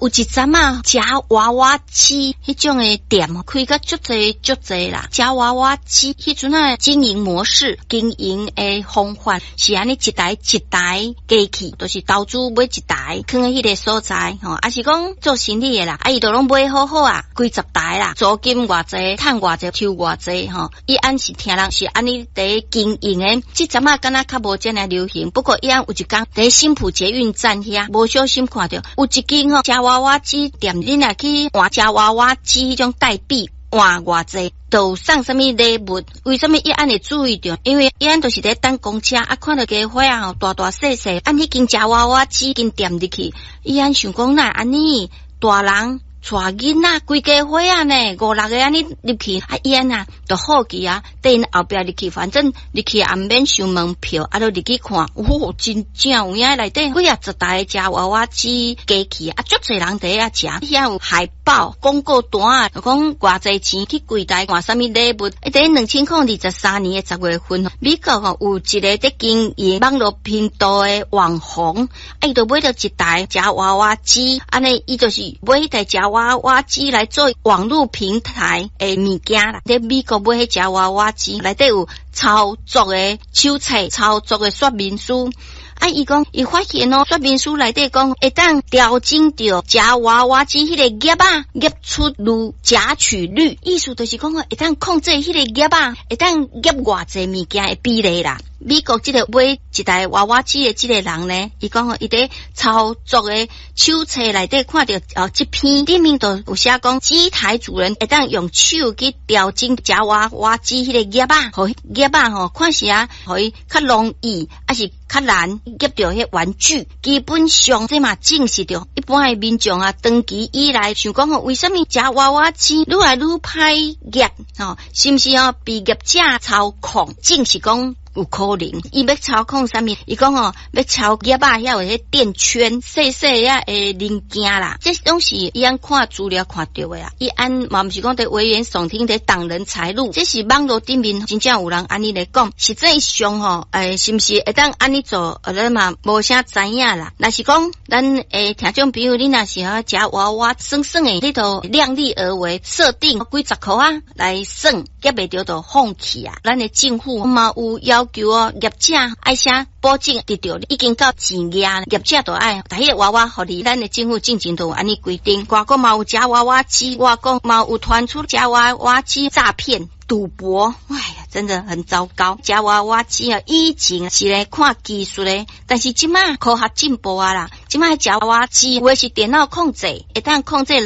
有一陣仔，夾娃娃機彼種的店開甲足濟足濟啦。夾娃娃機彼陣仔經營模式、經營的方法是按呢一台一台機器，就是投資買一台，囥佇彼个所在吼，抑是講做生意的啦，啊伊都攏買好好啊，幾十台啦，租金偌濟，趁偌濟，抽偌濟吼。伊按是聽人是按呢佇經營的，這陣仔敢若較無遮爾流行。不過伊按有一工佇新埔捷運站遐，無小心看著有一間吼夾娃娃機店，你若去換夾娃娃機彼種代幣換偌濟，就送啥物禮物？為啥物伊按會注意著？因為伊按就是佇等公車，啊，看著家伙仔吼大大細細，按彼間夾娃娃機間店入去，伊按想講哪會按呢大人帶囡仔規家伙仔呢，五六个按呢入去，啊伊按啊就好奇啊，綴𪜶後壁入去，反正入去也毋免收門票，啊，就入去看，哦，真正有影內底幾仔十台夾娃娃機機器，啊，足濟人佇遐食，遐有海報廣告單啊，就講偌濟錢去櫃台換啥物禮物。佇2023年的10月份，美國吼有一个佇經營網路頻道的網紅，啊，伊就買著一台夾娃娃機，按呢伊就是買彼台夾娃娃機來做網路平台的物件啦。佇美國買彼夾娃娃機內底有操作的手冊、操作的說明書。啊，伊講伊發現哦，說明書內底講會當調整著夾娃娃機彼個夾仔夾出率、夾取率，意思就是講哦，會當控制彼個夾仔，會當夾偌濟物件的比例啦。美國這個買一台娃娃機的這個人呢，伊講哦，伊佇操作的手冊內底看著哦，這篇頂面就有寫講，機台主人會當用手去調整夾娃娃機彼個夾仔，予夾仔吼看時啊，予伊較容易，抑是較難夾著彼玩具。基本上這嘛證實著一般的民眾啊，長期以來想講吼，為啥物夾娃娃機愈來愈歹夾吼？是毋是哦被業者操控？證實講有可能，伊欲操控啥物？伊講吼，欲操夾仔遐有彼電圈細細仔的零件啦，這攏是伊按看資料看著的啊。伊按嘛毋是講佇危言聳聽，佇擋人財路，這是網路頂面真正有人按呢來講。實際上吼，欸，是毋是會當按呢做？咱嘛無啥知影啦。若是講咱的聽眾朋友，你若是吼夾娃娃耍耍的，你就量力而為，設定幾十箍仔來耍，夾袂著就放棄啊。咱的政府嘛有要求哦，業者愛寫保證得著已經夠錢額，業者就愛共彼个娃娃予你。咱的政府進前都有按呢規定，外國嘛有夾娃娃機，外國嘛有傳出夾娃娃機詐騙。賭博，哎呀，真的很糟糕。夾娃娃機啊，以前是咧看技術咧，但是這馬科學進步啊啦，這馬夾娃娃機有的是電腦控制，會當控制內